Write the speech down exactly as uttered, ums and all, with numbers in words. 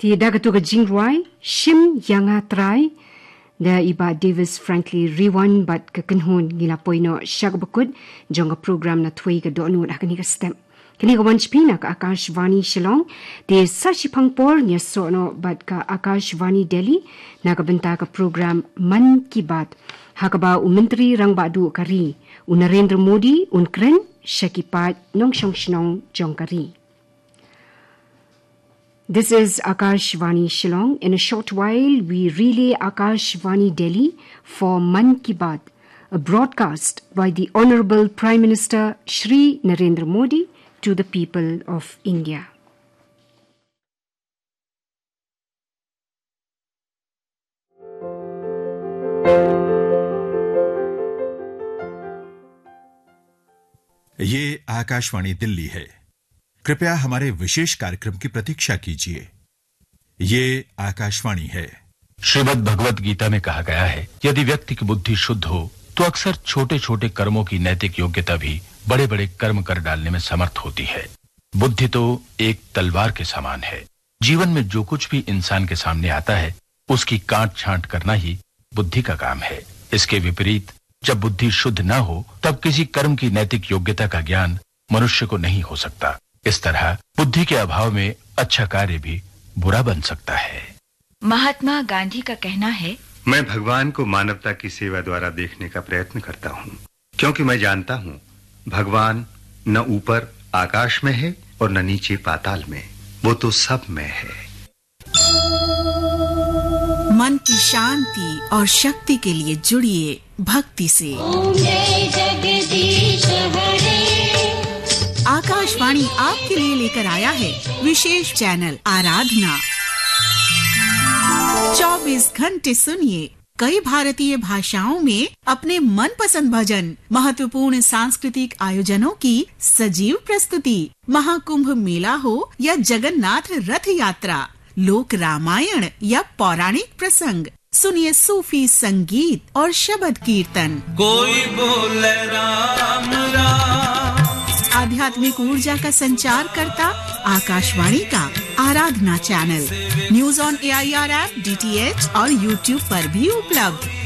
Te da katu ka jingrwai, Shim Ïa Nga Trai, da i Bah Davis Franklin Riwan bad ka kynhun, ngi la poi noh sha kaba kut jong ka program na thwei ka dohnud ha kane ka step. Kane ka wan sha phi na ka Akashvani Shillong, te sa shiphang por ngin ïasoh noh bad ka Akashvani Delhi, na ka bynta ka program Mann Ki Baat, ha kaba u Myntri Rangbah Duh ka ri, u Narendra Modi, un kren sha ki paid nongshong shnong jong ka ri. This is Akashvani Shillong. In a short while, we relay Akashvani Delhi for Mann Ki Baat, a broadcast by the Honorable Prime Minister Shri Narendra Modi to the people of India. ये आकाशवाणी दिल्ली है। कृपया हमारे विशेष कार्यक्रम की प्रतीक्षा कीजिए। ये आकाशवाणी है। श्रीमद् भगवत गीता में कहा गया है, यदि व्यक्ति की बुद्धि शुद्ध हो, तो अक्सर छोटे-छोटे कर्मों की नैतिक योग्यता भी बड़े-बड़े कर्म कर डालने में समर्थ होती है। बुद्धि तो एक तलवार के समान है। जीवन में जो कुछ भी इंसान के सामने आता है, उसकी काट छांट करना ही बुद्धि का काम है। इसके विपरीत, जब बुद्धि शुद्ध न हो, तब किसी कर्म की नैतिक योग्यता का ज्ञान मनुष्य को नहीं हो सकता। इस तरह बुद्धि के अभाव में अच्छा कार्य भी बुरा बन सकता है। महात्मा गांधी का कहना है, मैं भगवान को मानवता की सेवा द्वारा देखने का प्रयत्न करता हूँ, क्योंकि मैं जानता हूँ, भगवान न ऊपर आकाश में है और न नीचे पाताल में, वो तो सब में है। मन की शांति और शक्ति के लिए जुड़िए भक्ति से। ओम जय जगदीश हरे। आकाशवाणी आपके लिए लेकर आया है विशेष चैनल आराधना। चौबीस घंटे सुनिए कई भारतीय भाषाओं में अपने मनपसंद भजन, महत्वपूर्ण सांस्कृतिक आयोजनों की सजीव प्रस्तुति, महाकुंभ मेला हो या जगन्नाथ रथ यात्रा, लोक रामायण या पौराणिक प्रसंग, सुनिए सूफी संगीत और शबद कीर्तन। कोई बोले राम राम। आध्यात्मिक ऊर्जा का संचार करता आकाशवाणी का Aradhana channel, news on AIR app, DTH और YouTube पर भी उपलब्ध।